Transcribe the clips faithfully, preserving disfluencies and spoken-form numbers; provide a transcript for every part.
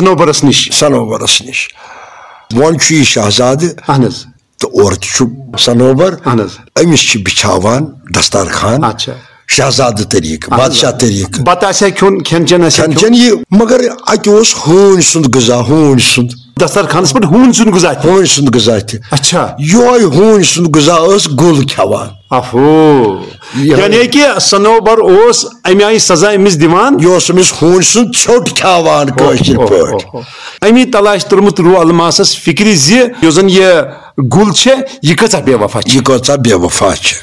صنوبرس نِش۔ صنوبرس نِش۔ وۄنۍ چھُ یہِ شہزادٕ، اہن حظ۔ تہٕ اورٕ تہِ چھُ صنوبر۔ اہن حظ۔ أمِس چھِ بِچھاوان دسترخان۔ اچھا۔ شہزادٕ طریٖقہٕ، اہن حظ۔ بادشاہ طریٖقہٕ۔ بتہٕ آسہِ ہا کھیوٚن، کھٮ۪ن چٮ۪ن آسہِ ہا کھٮ۪ن کھیوٚن۔ چٮ۪ن یہِ، مگر اَتہِ اوس ہوٗنۍ سُنٛد غذا، ہوٗنۍ سُنٛد، دسترخانس پٮ۪ٹھ ہوٗنۍ سُنٛد غذا تہِ۔ ہوٗنۍ سُنٛد غذا تہِ۔ اچھا۔ یِہوٚے ہوٗنۍ سُنٛد غذا ٲس گُل کھٮ۪وان۔ افو۔ یِہوٚے۔ یعنی کہِ صنوبر اوس امہِ آیہِ سزا أمِس دِوان۔ یہِ اوس أمِس ہوٗنۍ سُنٛد ژھیوٚٹ کھٮ۪وان کٲشِر اوہ، اوہ، پٲٹھۍ۔ اوہ، اوہ۔ امی تلاشہِ توٚرمُت روح الماسس فکرِ زِ یۄس زن یہِ گُل چھےٚ، یہِ کۭژاہ بے وفا چھِ۔ یہِ کۭژاہ بے وفا چھِ۔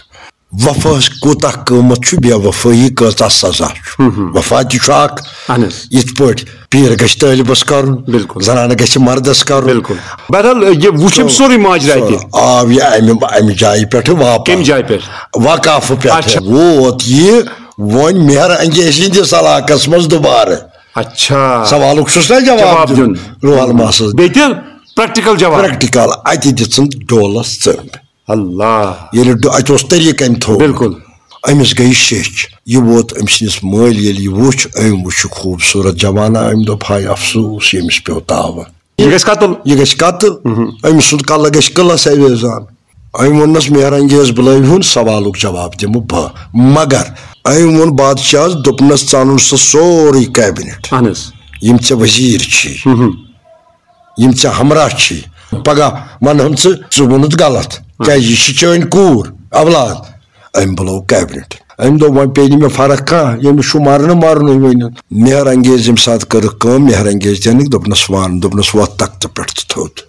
وفاہس کوٗتاہ قۭمتھ چھُ بے وفٲیی، کۭژاہ سزا چھُ۔ وفا تہِ چھُ اکھ۔ اہن حظ۔ یِتھ پٲٹھۍ پیٖر گژھِ طٲلبس کرُن، بِلکُل۔ زنانہٕ گژھِ مردس کرُن۔ بِلکُل۔ بہرحال، یہِ وُچھُم سورُے ماجرا تہِ۔ آو یہِ امہِ، امہِ جایہِ پٮ۪ٹھٕ واپس۔ کمہِ جایہِ پٮ۪ٹھ؟ وقافہٕ پٮ۪ٹھٕ۔ اچھا۔ ووت یہِ وۄنۍ مہر انگیز ہٕنٛدِس علاقس منٛز دُبارٕ۔ اچھا۔ سوالُک چھُس نا جواب جواب دیُن۔ دیُن۔ روح الماسس۔ بیٚیہِ تہِ پریکٹیکل جواب۔ پریکٹیکل۔ اتہِ دِژٕن ڈولس ژٔنٛڈ۔ اللہ۔ ییٚلہِ ڈو-، اتہِ اوس طریٖقہٕ أمۍ تھوٚومُت۔ بِلکُل۔ أمِس گٔے شیٚچھ۔ یہِ ووت أمۍ سٕنٛدِس مٲلۍ، ییٚلہِ یہِ وُچھ، أمۍ وُچھ یہِ خوٗبصوٗرت جوانہ، أمۍ دوٚپ، ہاے افسوٗس، ییٚمِس پیوٚو تاوان۔ یہِ گژھِ قتل۔ یہِ گژھِ قتل۔ أمۍ سُنٛد کلہٕ گژھِ قلعس اویزان۔ أمۍ ووٚننس، مہر انگیز بُلٲوِہُن، سوالُک جواب دِمہٕ بہٕ۔ مگر أمۍ ووٚن بادشاہس، دوٚپنس، ژٕ اَنُن سُہ سورُے کیبنٹ۔ اہن حظ۔ یِم ژےٚ وزیٖر چھی، یِم ژےٚ ہمراہ چھی، پگاہ ونہٕ ہن ژٕ، ژٕ ووٚنُتھ غلط، کیازِ یہِ چھِ چٲنۍ کوٗر، اولاد۔ أمۍ بُلوو کیبنٹ۔ أمۍ دوٚپ، وۄنۍ پیٚیہِ نہٕ مےٚ فرق کانٛہہ، ییٚمِس چھُ مرنہٕ مرنُے وۄنۍ۔ مہر انگیز ییٚمہِ ساتہٕ کٔرٕکھ کٲم، مہر انگیز دینٕکۍ، دوٚپنس، وَن، دوٚپنس، وۄتھ تختہٕ پٮ۪ٹھ تہٕ تھوٚد۔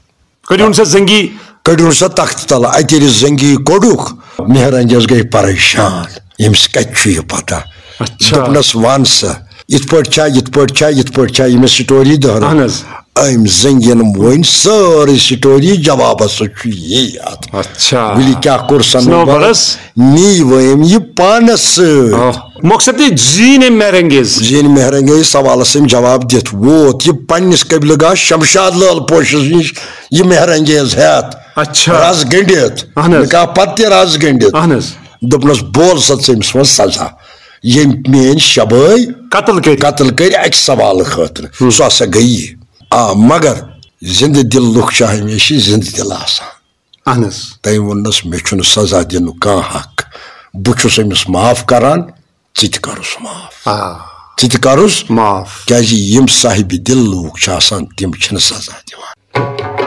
کٔرِو سا زنگی۔ کٔڑِو سا تختہٕ تلہٕ، اتہِ ییٚلہِ زنگی کوٚڑُکھ، مہر انگیز گٔے پریشان، ییٚمِس کتہِ چھُ یہِ پتہ؟ اچھا۔ دوٚپنس، ون سا، یِتھ پٲٹھۍ چھا، یِتھ پٲٹھۍ چھا، یِتھ پٲٹھۍ چھا، ییٚمِس سٹوری دہرٲو۔ اہن حظ۔ أمۍ زنگین ؤنۍ سٲرٕے سٹوری، جوابس سۭتۍ چھُ یی اتھ۔ اچھا۔ ؤلِو کیٛاہ کوٚر صنوبرس؟ صنوبرس؟ نی وٲم یہِ پانس سۭتۍ۔ آہ۔ مقصد تہِ زیٖنۍ أمۍ مہر انگیز۔ زیٖنۍ مہر انگیز سوالس أمۍ جواب دِتھ ووت یہِ پننِس قبلہٕ گاہ شمشاد لال پوشس نِش، یہِ مہر انگیز ہٮ۪تھ۔ اچھا۔ رز گٔنڈِتھ۔ اہن حظ۔ نکاح پتہٕ تہِ رز گٔنڈِتھ۔ اہن حظ۔ دوٚپنس، بول سا ژٕ أمِس منٛز سزا، ییٚمۍ میٲنۍ شبٲے قتل کٔرۍ۔ قتل کٔرۍ اکہِ سوالہٕ خٲطرٕ۔ سُہ ہسا گٔیی۔ آ، مگر زندٕ دل لُکھ چھِ ہمیشہِ زندٕ دل آسان۔ اہن حظ۔ تٔمۍ ووٚننس، مےٚ چھُنہٕ سزا دِنُک کانٛہہ حق، بہٕ چھُس أمِس معاف کران، ژٕ تہِ کرُس معاف۔ آ۔ ژٕ تہِ کرُس، معاف۔ کیازِ یِم صاحبِ دل لوٗکھ چھِ آسان، تِم چھِنہٕ سزا دِوان۔